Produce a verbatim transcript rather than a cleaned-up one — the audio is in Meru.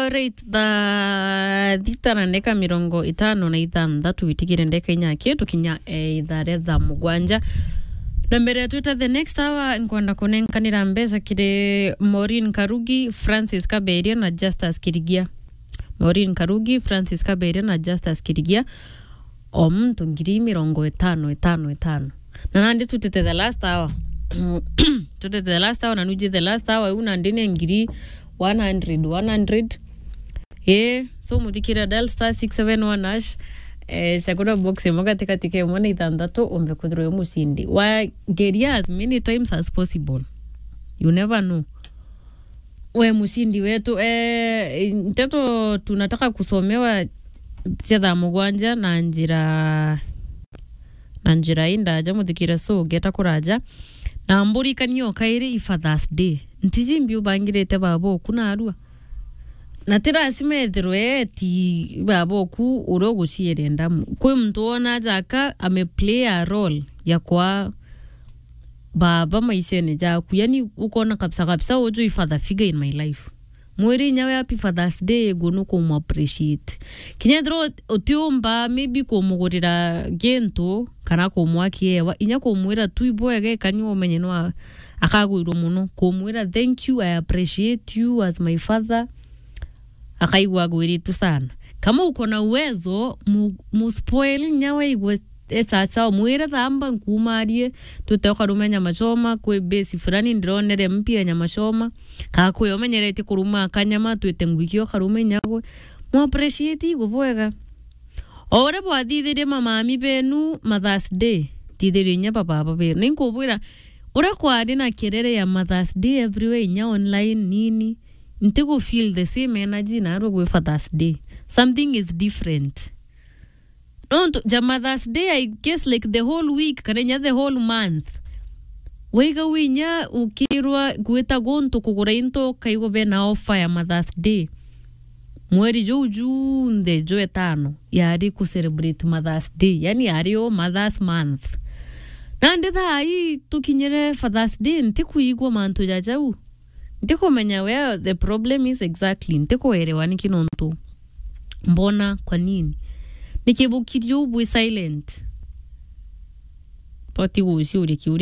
Alright, thaa thita na ndeka mirongo itano na ithanthatu, witigire ndeka inya ki tukinya, eh, ithaa ria thaa mugwanja. Na mbere twita the next hour, nkwenda kunenkanira mbeca kiri Maureen Karugi, Francis Kaberia na Justus Kirigia. Maureen Karugi, Francis Kaberia na Justus Kirigia. O muntu ngiri mirongo itano, itano, itano. Na nandi tutite the last hour. Tutite the last hour, na nuji the last hour, u nandi ni ngiri one hundred, one hundred. Eh, so muthikira dial star six seven one hash. Eh, chagura box imwe katikati ka imwe na ithanthatu, umbe kwithirwa wi mucindi. Wa geria as many times as possible. You never know. We mucindi wetu, eh, nteto tunataka kusomewa cia thaa mugwanja na njira, na njira indaja muthikire, so ngeta kuraja. Na mburi kanio kairi i Father's Day. Ntiji mbi ubangirite baba oku narua. Na ti lazima ethirwe ti baba oku uria uguciere ndamu. Kwi muntu wona jaka ame play a role ya kwa baba maishene jaku. Yani, ukona kabisa kabisa, uju i father figure in my life. Mwiri inya we happy Father's Day, gu nukumu appreciate. Kinya ethirwa utiumba maybe kumugurira gintu kana kumwa kiewa, inya kumwira tu ibwega, ikanyua umenye no a-, akagwirwa muno. Kumwira, "Thank you, I appreciate you as my father." Akaigua agwiritwe sana. Kama uko na uwezo, mu-, mu spoil inya waigwe e sawa sawa, mwire, "Thamba nkumarie, twite ukarume nyama choma, kwi base fulani ndironere mpya ya nyama choma." Ka kwi umenyeretie kuruma kanyama, twite ngwiki ukarume inya gwe. Mu appreciate igwe bwega. O uria bwathithirie mamami benu Mother's Day, thithirie inya bababa benu. Ninkubwira, uria kwari na kerere ya Mother's Day everywhere, inya online nini, ntigu feel the same energy narua gwi Father's Day. Something is different. Nontu ja Mother's Day, I guess, like, the whole week, kana inya the whole month, waiga winya ukirwa gwita guntu kugura into, ukaigwa bena offer ya Mother's Day. Mweri juu junthe jwa etano yari ku celebrate Mother's Day, yani yari o Mother's Month. Nandi thaa ii tukinyire Father's Day, ntikuigua mantu ja jau. Ntikumenya where the problem is exactly. Ntikuelewa niki nontu. Mbona kwa nini? Niki bukirie uu bwi silent? Boti guciuria kiuria.